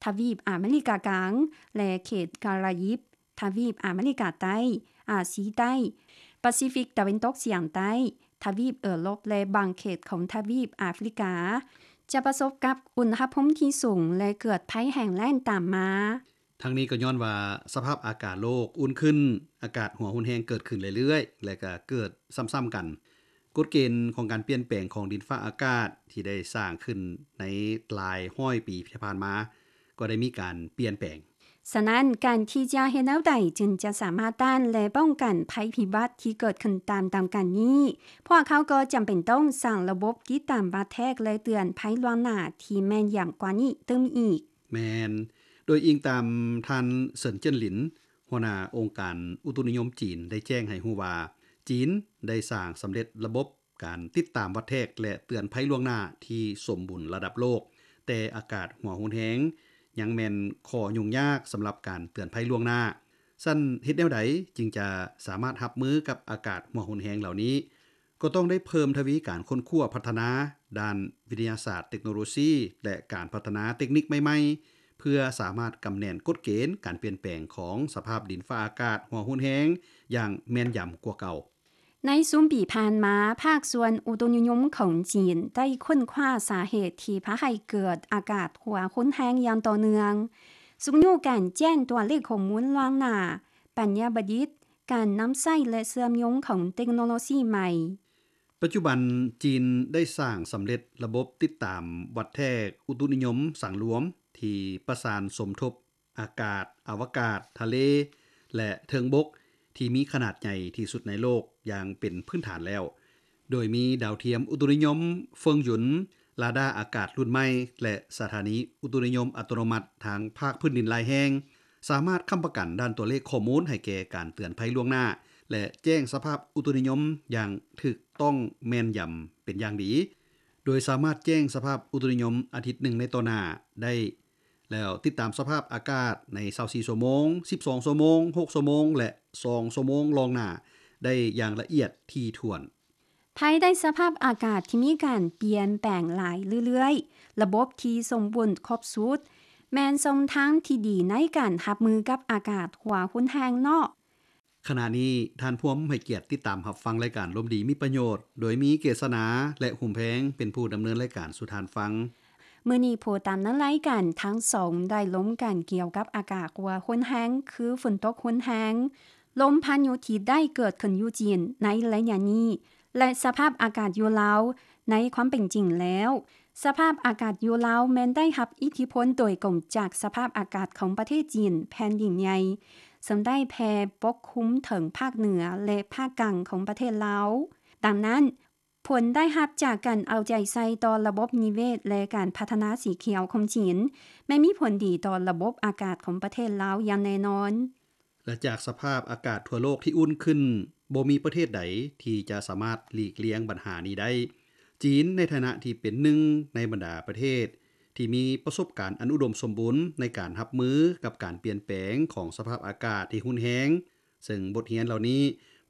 ທະວີບອາເມລິກາກາງ ແລະ ເຂດກາຣາຢິບ, ທະວີບອາເມລິກາໃຕ້, ອາຊີໃຕ້, ປາຊີຟິກຕາເວັນຕົກສຽງໃຕ້, ທະວີບເອີຣົບ ແລະ ບາງເຂດຂອງທະວີບອາຟຣິກາ ຈະປະສົບກັບອຸນຫະພູມທີ່ສູງ ແລະ ເກີດໄພແຫ້ງແລ້ງຕາມມາ. ທັງນີ້ກໍຍ້ອນວ່າສະພາບອາກາດໂລກອຸ່ນຂຶ້ນ, ອາກາດຮ້ອນຮຸນແຮງເກີດຂຶ້ນເລື້ອຍໆ ແລະ ກໍເກີດຊ້ຳໆກັນ. ກົດເກນຂອງການປ່ຽນແປງຂອງດິນຟ້າອາກາດທີ່ໄດ້ສ້າງຂຶ້ນໃນຫຼາຍຮ້ອຍປີທີ່ຜ່ານມາ ກໍໄດ້ມີການປ່ຽນແປງ. ສະນັ້ນ, ການທີ່ຈະເຮັດແນວໃດຈຶ່ງຈະສາມາດຕ້ານ ແລະ ປ້ອງກັນໄພພິບັດທີ່ເກີດຂຶ້ນຕາມໆກັນນີ້, ພວກເຂົາກໍຈຳເປັນຕ້ອງສ້າງລະບົບຕິດຕາມວັດແທກ ແລະ ເຕືອນໄພລ່ວງໜ້າທີ່ແມ່ນຢຳກວ່ານີ້ຕື່ມອີກ. ແມ່ນ, ໂດຍອີງຕາມທ່ານ ເສີນ ເຈີນຫຼິນ, ຫົວໜ້າອົງການອຸຕຸນິຍົມຈີນ ໄດ້ແຈ້ງໃຫ້ຮູ້ວ່າ ຈີນໄດ້ສ້າງສຳເລັດລະບົບການຕິດຕາມວັດແທກ ແລະ ເຕືອນໄພລ່ວງໜ້າທີ່ສົມບູນລະດັບໂລກ, ແຕ່ອາກາດຮ້ອນຮຸນແຮງຍັງແມ່ນຂໍ້ຫຍຸ້ງຍາກສຳລັບການເຕືອນໄພລ່ວງໜ້າ. ຊັ້ນເຮັດແນວໃດຈຶ່ງຈະສາມາດຮັບມືກັບອາກາດຮ້ອນຮຸນແຮງເຫຼົ່ານີ້? ກໍຕ້ອງໄດ້ເພີ່ມທະວີການຄົ້ນຄວ້າພັດທະນາດ້ານວິທະຍາສາດເຕັກໂນໂລຊີ ແລະ ການພັດທະນາເຕັກນິກໃໝ່ໆ ເພື່ອສາມາດກຳແໜ້ນກົດເກນການປ່ຽນແປງຂອງສະພາບດິນຟ້າອາກາດຮ້ອນຮຸນແຮງຢ່າງແມ່ນຢຳກວ່າເກົ່າ. ໃນຊຸມປີຜ່ານມາ, ພາກສ່ວນອຸຕຸນິຍົມຂອງຈີນໄດ້ຄົ້ນຄວ້າສາເຫດທີ່ພາໃຫ້ເກີດອາກາດຮ້ອນຮຸນແຮງຢ່າງຕໍ່ເນື່ອງ, ຊຸກຍູ້ການແຈ້ງຕົວເລກຂໍ້ມູນລ່ວງໜ້າ, ປັນຍາປະດິດ, ການນຳໃຊ້ ແລະ ເຊື່ອມໂຍງຂອງເຕັກໂນໂລຊີໃໝ່. ປັດຈຸບັນ, ຈີນໄດ້ສ້າງສຳເລັດລະບົບຕິດຕາມວັດແທກອຸຕຸນິຍົມສັງລວມ ທີ່ປະສານສົມທົບອາກາດ, ອະວະກາດ, ທະເລ ແລະ ເທິງບົກ ທີ່ມີຂະໜາດໃຫຍ່ທີ່ສຸດໃນໂລກຢ່າງເປັນພື້ນຖານແລ້ວ, ໂດຍມີດາວທຽມອຸຕຸນິຍົມເຟິງຢຸນ, ຣາດາອາກາດລຸ້ນໃໝ່ ແລະ ສະຖານີອຸຕຸນິຍົມອັດຕະໂນມັດທາງພາກພື້ນດິນຫຼາຍແຫ່ງ, ສາມາດຄ້ຳປະກັນດ້ານຕົວເລກຂໍ້ມູນໃຫ້ແກ່ການເຕືອນໄພລ່ວງໜ້າ ແລະ ແຈ້ງສະພາບອຸຕຸນິຍົມຢ່າງຖືກຕ້ອງແມ່ນຢຳເປັນຢ່າງດີ, ໂດຍສາມາດແຈ້ງສະພາບອຸຕຸນິຍົມອາທິດໜຶ່ງໃນຕໍ່ໜ້າໄດ້ ແລ້ວຕິດຕາມສະພາບອາກາດໃນຊາວສີ່ຊົ່ວໂມງ, ສິບສອງຊົ່ວໂມງ, ຫົກຊົ່ວໂມງ ແລະ ສອງຊົ່ວໂມງລ່ວງໜ້າໄດ້ຢ່າງລະອຽດຖີ່ຖ້ວນ. ພາຍໃຕ້ສະພາບອາກາດທີ່ມີການປ່ຽນແປງຫຼາຍເລື້ອຍໆ, ລະບົບທີ່ສົມບູນຄົບຊຸດ ແມ່ນຊ່ອງທາງທີ່ດີໃນການຮັບມືກັບອາກາດຮ້ອນຮຸນແຮງເນາະ. ຂະນະນີ້, ທ່ານພວມໃຫ້ກຽດຕິດຕາມຮັບຟັງລາຍການລົມດີມີປະໂຫຍດ, ໂດຍມີເກດສະໜາ ແລະ ຫຸມແພງ ເປັນຜູ້ດຳເນີນລາຍການສູ່ທ່ານຟັງ. ມື້ນີ້ຜູ້ດຳເນີນລາຍການທັງສອງໄດ້ລົມກັນກ່ຽວກັບອາກາດຮ້ອນຮຸນແຮງ ຄືຝົນຕົກຮຸນແຮງ, ລົມພາຍຸທີ່ໄດ້ເກີດຂຶ້ນຢູ່ຈີນໃນໄລຍະນີ້ ແລະ ສະພາບອາກາດຢູ່ລາວໃນຄວາມເປັນຈິງແລ້ວ. ສະພາບອາກາດຢູ່ລາວແມ່ນໄດ້ຮັບອິດທິພົນໂດຍກົງຈາກສະພາບອາກາດຂອງປະເທດຈີນແຜ່ນດິນໃຫຍ່ ເຊິ່ງໄດ້ແຜ່ປົກຄຸມເຖິງພາກເໜືອ ແລະ ພາກກາງຂອງປະເທດລາວ. ດັ່ງນັ້ນ, ຜົນໄດ້ຮັບຈາກການເອົາໃຈໃສ່ຕໍ່ລະບົບນິເວດ ແລະ ການພັດທະນາສີຂຽວຂອງຈີນ ແມ່ນມີຜົນດີຕໍ່ລະບົບອາກາດຂອງປະເທດລາວຢ່າງແນ່ນອນ. ແລະ ຈາກສະພາບອາກາດທົ່ວໂລກທີ່ອຸ່ນຂຶ້ນ, ບໍ່ມີປະເທດໃດທີ່ຈະສາມາດຫຼີກລ່ຽງບັນຫານີ້ໄດ້. ຈີນໃນຖານະທີ່ເປັນໜຶ່ງໃນບັນດາປະເທດທີ່ມີປະສົບການອັນອຸດົມສົມບູນໃນການຮັບມືກັບການປ່ຽນແປງຂອງສະພາບອາກາດທີ່ຮຸນແຮງ, ເຊິ່ງບົດຮຽນເຫຼົ່ານີ້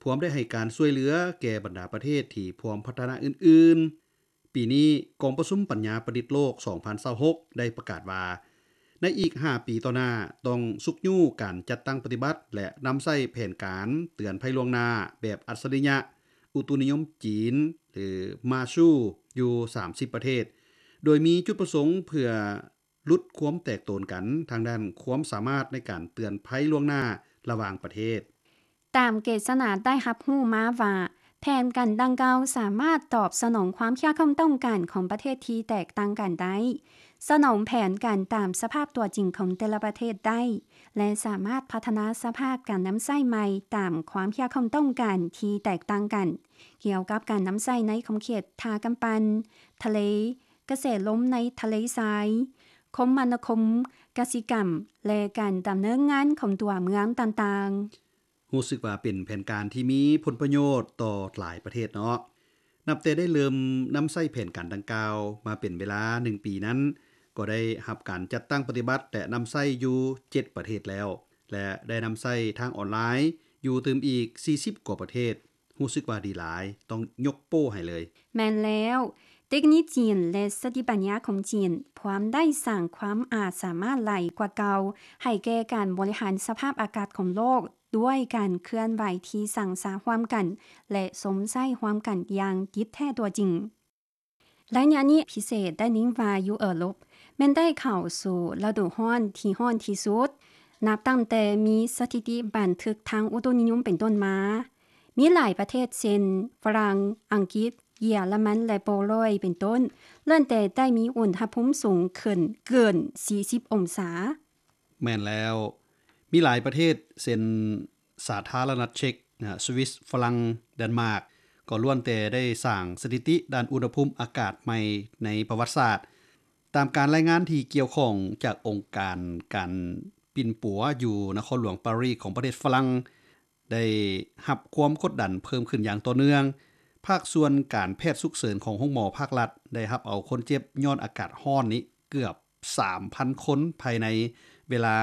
ພວມໄດ້ໃຫ້ການຊ່ວຍເຫຼືອແກ່ບັນດາປະເທດທີ່ພວມພັດທະນາອື່ນໆ. ປີນີ້, ກອງປະຊຸມປັນຍາປະດິດໂລກສອງພັນຊາວຫົກ ໄດ້ປະກາດວ່າ ໃນອີກຫ້າປີຕໍ່ໜ້າ ຕ້ອງຊຸກຍູ້ການຈັດຕັ້ງປະຕິບັດ ແລະ ນຳໃຊ້ແຜນການເຕືອນໄພລ່ວງໜ້າແບບອັດສະລິຍະອຸຕຸນິຍົມຈີນ ຫຼື ມາຊູ ຢູ່ສາມສິບປະເທດ, ໂດຍມີຈຸດປະສົງເພື່ອ ຫຼຸດຄວາມແຕກໂຕນກັນທາງດ້ານຄວາມສາມາດໃນການເຕືອນໄພລ່ວງໜ້າລະຫວ່າງປະເທດ. ຕາມເກດສະໜາໄດ້ຮັບຮູ້ມາວ່າ ແຜນການດັ່ງກ່າວສາມາດຕອບສະໜອງຄວາມຄຽດຄວາມຕ້ອງການຂອງປະເທດທີ່ແຕກຕ່າງກັນໄດ້, ສະໜອງແຜນການຕາມສະພາບຕົວຈິງຂອງແຕ່ລະປະເທດໄດ້ ແລະ ສາມາດພັດທະນາສະພາບການນຳໃຊ້ໃໝ່ຕາມຄວາມຄຽດຄວາມຕ້ອງການທີ່ແຕກຕ່າງກັນ ກ່ຽວກັບການນຳໃຊ້ໃນຂົງເຂດທ່າກຳປັ່ນ, ທະເລ, ກະແສລົມໃນທະເລຊາຍ, ຄົມມະນາຄົມ, ກະສິກຳ ແລະ ການດຳເນີນງານຂອງຕົວເມືອງຕ່າງໆ. ຮູ້ສຶກວ່າເປັນແຜນການທີ່ມີຜົນປະໂຫຍດຕໍ່ຫຼາຍປະເທດເນາະ. ນັບແຕ່ໄດ້ເລີ່ມນຳໃຊ້ແຜນການດັ່ງກ່າວມາເປັນເວລາໜຶ່ງປີນັ້ນ, ກໍໄດ້ຮັບການຈັດຕັ້ງປະຕິບັດ ແລະ ນຳໃຊ້ຢູ່ເຈັດປະເທດແລ້ວ ແລະ ໄດ້ນຳໃຊ້ທາງອອນລາຍຢູ່ຕື່ມອີກສີ່ສິບກວ່າປະເທດ. ຮູ້ສຶກວ່າດີຫຼາຍ, ຕ້ອງຍົກໂປ້ໃຫ້ເລີຍ. ແມ່ນແລ້ວ, ເຕັກນິກຈີນ ແລະ ສະຕິປັນຍາຂອງຈີນ ພວມໄດ້ສ້າງຄວາມອາດສາມາດຫຼາຍກວ່າເກົ່າ ໃຫ້ແກ່ການບໍລິຫານສະພາບອາກາດຂອງໂລກ ດ້ວຍການເຄື່ອນໄຫວທີ່ສ້າງສາຮ່ວມກັນ ແລະ ຊົມໃຊ້ຮ່ວມກັນຢ່າງຕິດແທ້ຕົວຈິງ. ໄລຍະນີ້ພິເສດໄດ້ຍິນວ່າຢູ່ເອີຣົບ ແມ່ນໄດ້ເຂົ້າສູ່ລະດູຮ້ອນທີ່ຮ້ອນທີ່ສຸດ ນັບຕັ້ງແຕ່ມີສະຖິຕິບັນທຶກທາງອຸຕຸນິຍົມເປັນຕົ້ນມາ. ມີຫຼາຍປະເທດເຊັ່ນ ຝຣັ່ງ, ອັງກິດ, ເຢຍລະມັນ ແລະ ໂປໂລຍ ເປັນຕົ້ນ ລ້ວນແຕ່ໄດ້ມີອຸນຫະພູມສູງຂຶ້ນເກີນສີ່ສິບອົງສາ. ແມ່ນແລ້ວ, ມີຫຼາຍປະເທດເຊັ່ນ ສາທາລະນະລັດເຊັກ, ສະວິສ, ຝຣັ່ງ, ແດນມາກ ກໍລ້ວນແຕ່ໄດ້ສ້າງສະຖິຕິດ້ານອຸນຫະພູມອາກາດໃໝ່ໃນປະຫວັດສາດ. ຕາມການລາຍງານທີ່ກ່ຽວຂ້ອງຈາກອົງການການປິ່ນປົວຢູ່ນະຄອນຫຼວງປາຣີຂອງປະເທດຝຣັ່ງ ໄດ້ຮັບຄວາມກົດດັນເພີ່ມຂຶ້ນຢ່າງຕໍ່ເນື່ອງ. ພາກສ່ວນການແພດສຸກເສີນຂອງໂຮງໝໍພາກລັດ ໄດ້ຮັບເອົາຄົນເຈັບຍ້ອນອາກາດຮ້ອນນີ້ເກືອບສາມພັນຄົນ ພາຍໃນເວລາ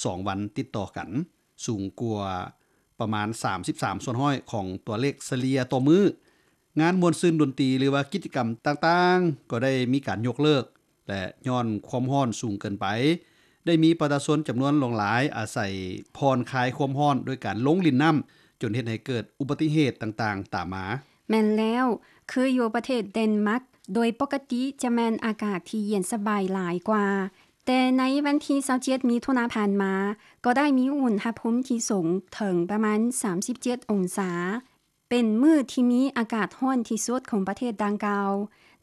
ສອງວັນຕິດຕໍ່ກັນ, ສູງກວ່າປະມານສາມສິບສາມສ່ວນຮ້ອຍຂອງຕົວເລກສະເລ່ຍຕໍ່ມື້. ງານມ່ວນຊື່ນດົນຕີ ຫຼືວ່າກິດຈະກຳຕ່າງໆ ກໍໄດ້ມີການຍົກເລີກ ແລະ ຍ້ອນຄວາມຮ້ອນສູງເກີນໄປ ໄດ້ມີປະຊາຊົນຈຳນວນຫຼວງຫຼາຍອາໄສຜ່ອນຄາຍຄວາມຮ້ອນດ້ວຍການລົງຫຼິ້ນນ້ຳ ຈົນເຮັດໃຫ້ເກີດອຸບັດຕິເຫດຕ່າງໆຕາມມາ. ແມ່ນແລ້ວ, ຄືຢູ່ປະເທດເດນມາກ ໂດຍປົກກະຕິຈະແມ່ນອາກາດທີ່ເຢັນສະບາຍຫຼາຍກວ່າ, ແຕ່ໃນວັນທີຊາວເຈັດ ມິຖຸນາຜ່ານມາ ກໍໄດ້ມີອຸນຫະພູມທີ່ສູງເຖິງປະມານສາມສິບເຈັດອົງສາ. ເປັນມື້ທີ່ມີອາກາດຮ້ອນທີ່ສຸດຂອງປະເທດດັ່ງກ່າວ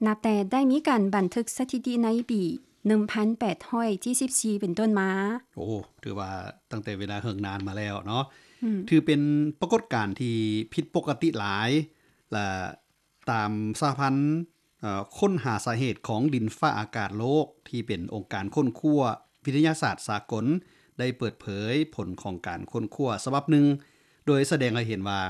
ນັບແຕ່ໄດ້ມີການບັນທຶກສະຖິຕິໃນປີໜຶ່ງພັນແປດຮ້ອຍເຈັດສິບສີ່ເປັນຕົ້ນມາ. ໂອ້ ຖືວ່າຕັ້ງແຕ່ເວລາເຫິງນານມາແລ້ວເນາະ. ອືມ ຖືເປັນປາກົດການທີ່ຜິດປົກກະຕິຫຼາຍ ແລະ ຕາມສະຫະພັນ ເອີ ຄົ້ນຫາສາເຫດຂອງດິນຟ້າອາກາດໂລກ ທີ່ເປັນອົງການຄົ້ນຄວ້າວິທະຍາສາດສາກົນ ໄດ້ເປີດເຜີຍຜົນຂອງການຄົ້ນຄວ້າສະບັບໜຶ່ງ ໂດຍສະແດງໃຫ້ເຫັນວ່າ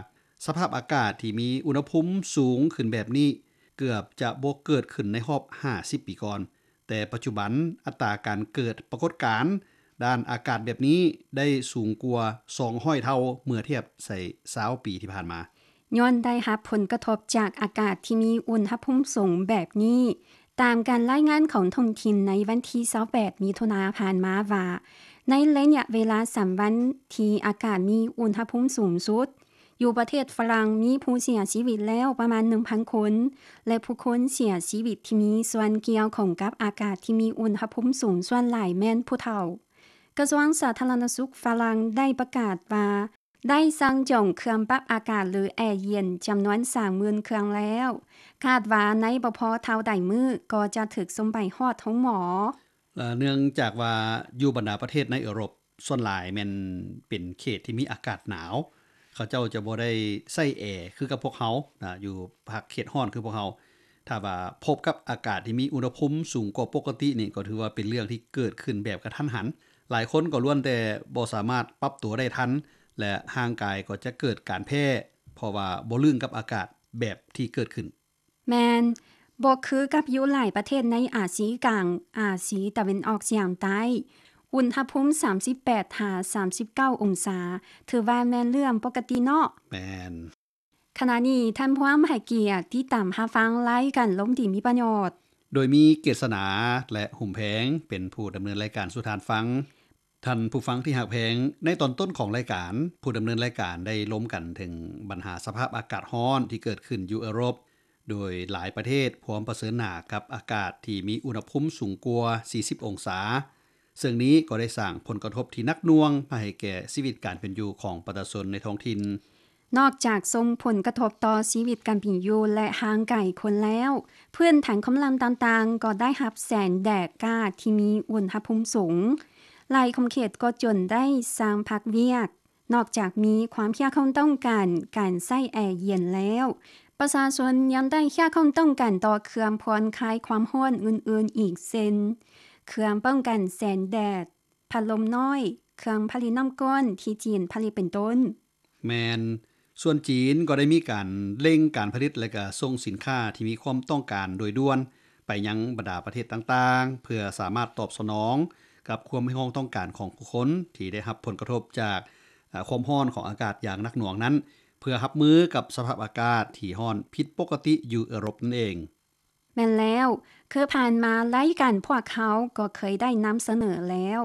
ສະພາບອາກາດທີ່ມີອຸນຫະພູມສູງຂຶ້ນແບບນີ້ ເກືອບຈະບໍ່ເກີດຂຶ້ນໃນຮອບຫ້າສິບປີກ່ອນ, ແຕ່ປັດຈຸບັນອັດຕາການເກີດປາກົດການດ້ານອາກາດແບບນີ້ໄດ້ສູງກວ່າສອງຮ້ອຍເທົ່າ ເມື່ອທຽບໃສ່ຊາວປີທີ່ຜ່ານມາ. ຍ້ອນໄດ້ຮັບຜົນກະທົບຈາກອາກາດທີ່ມີອຸນຫະພູມສູງແບບນີ້, ຕາມການລາຍງານຂອງທ້ອງຖິ່ນໃນວັນທີຊາວແປດ ມິຖຸນາຜ່ານມາວ່າ, ໃນໄລຍະເວລາສາມວັນທີ່ອາກາດມີອຸນຫະພູມສູງສຸດ, ຢູ່ປະເທດຝຣັ່ງມີຜູ້ເສຍຊີວິດແລ້ວປະມານໜຶ່ງພັນຄົນ ແລະ ຜູ້ຄົນເສຍຊີວິດທີ່ມີສ່ວນກ່ຽວຂ້ອງກັບອາກາດທີ່ມີອຸນຫະພູມສູງສ່ວນຫຼາຍແມ່ນຜູ້ເຖົ້າ. ກະຊວງສາທາລະນະສຸກຝຣັ່ງໄດ້ປະກາດວ່າ ໄດ້ສັ່ງຈອງເຄື່ອງປັບອາກາດ ຫຼື ແອເຢັນ ຈຳນວນສາມໝື່ນເຄື່ອງແລ້ວ. ຄາດວ່າໃນບໍ່ພໍເທົ່າໃດມື້ກໍຈະຖືກສົ່ງໄປຮອດໂຮງໝໍ. ເອີ ເນື່ອງຈາກວ່າຢູ່ບັນດາປະເທດໃນເອີຣົບ ສ່ວນຫຼາຍແມ່ນເປັນເຂດທີ່ມີອາກາດໜາວ, ເຂົາເຈົ້າຈະບໍ່ໄດ້ໃຊ້ແອຄືກັບພວກເຮົານະ ຢູ່ພາກເຂດຮ້ອນຄືພວກເຮົາ. ຖ້າວ່າພົບກັບອາກາດທີ່ມີອຸນຫະພູມສູງກວ່າປົກກະຕິນີ້ ກໍຖືວ່າເປັນເລື່ອງທີ່ເກີດຂຶ້ນແບບກະທັນຫັນ. ຫຼາຍຄົນກໍລ້ວນແຕ່ບໍ່ສາມາດປັບຕົວໄດ້ທັນ ແລະ ຮ່າງກາຍກໍຈະເກີດການແພ້ ເພາະວ່າບໍ່ລຶ້ງກັບອາກາດແບບທີ່ເກີດຂຶ້ນ. ແມ່ນ, ບໍ່ຄືກັບຢູ່ຫຼາຍປະເທດໃນອາຊີກາງ, ອາຊີຕາເວັນອອກສຽງໃຕ້, ອຸນຫະພູມສາມສິບແປດຫາສາມສິບເກົ້າອົງສາ ຖືວ່າແມ່ນເລື່ອງປົກກະຕິເນາະ. ແມ່ນ. ຂະນະນີ້ທ່ານພວມໃຫ້ກຽດຕິດຕາມຮັບຟັງລາຍການລົມດີມີປະໂຫຍດ ໂດຍມີເກດສະໜາ ແລະ ຫຸມແພງ ເປັນຜູ້ດຳເນີນລາຍການສູ່ທ່ານຟັງ. ທ່ານຜູ້ຟັງທີ່ຮັກແພງ, ໃນຕອນຕົ້ນຂອງລາຍການ, ຜູ້ດຳເນີນລາຍການໄດ້ລົມກັນເຖິງບັນຫາສະພາບອາກາດຮ້ອນທີ່ເກີດຂຶ້ນຢູ່ເອີຣົບ, ໂດຍຫຼາຍປະເທດພວມປະເຊີນໜ້າກັບອາກາດທີ່ມີອຸນຫະພູມສູງກວ່າສີ່ສິບອົງສາ. ເຊິ່ງນີ້ກໍໄດ້ສ້າງຜົນກະທົບທີ່ໜັກໜ່ວງມາໃຫ້ແກ່ຊີວິດການເປັນຢູ່ຂອງປະຊາຊົນໃນທ້ອງຖິ່ນ. ນອກຈາກສົ່ງຜົນກະທົບຕໍ່ຊີວິດການເປັນຢູ່ ແລະ ຮ່າງກາຍຄົນແລ້ວ, ພື້ນຖານກຳລັງຕ່າງໆກໍໄດ້ຮັບແສງແດດຈ້າທີ່ມີອຸນຫະພູມສູງ. ຫຼາຍຂົງເຂດກໍຈົນໄດ້ສັ່ງພັກວຽກ. ນອກຈາກມີຄວາມຮຽກຮ້ອງຕ້ອງການການໃຊ້ແອເຢັນແລ້ວ, ປະຊາຊົນຍັງໄດ້ຮຽກຮ້ອງຕ້ອງການຕໍ່ເຄື່ອງຜ່ອນຄາຍຄວາມຮ້ອນອື່ນໆອີກເຊັ່ນ ເຄື່ອງປ້ອງກັນແສງແດດ, ພັດລົມນ້ອຍ, ເຄື່ອງຜະລິດນ້ຳກ້ອນທີ່ຈີນຜະລິດເປັນຕົ້ນ. ແມ່ນ, ສ່ວນຈີນກໍໄດ້ມີການເລັ່ງການຜະລິດ ແລະ ກະສົ່ງສິນຄ້າທີ່ມີຄວາມຕ້ອງການໂດຍດ່ວນໄປຍັງບັນດາປະເທດຕ່າງໆ ເພື່ອສາມາດຕອບສະໜອງກັບຄວາມຮຽກຮ້ອງຕ້ອງການຂອງຜູ້ຄົນທີ່ໄດ້ຮັບຜົນກະທົບຈາກ ເອີ ຄວາມຮ້ອນຂອງອາກາດຢ່າງໜັກໜ່ວງນັ້ນ ເພື່ອຮັບມືກັບສະພາບອາກາດທີ່ຮ້ອນຜິດປົກກະຕິຢູ່ເອີຣົບນັ້ນເອງ. ແມ່ນແລ້ວ, ຄືຜ່ານມາລາຍການພວກເຮົາກໍເຄີຍໄດ້ນຳສະເໜີແລ້ວ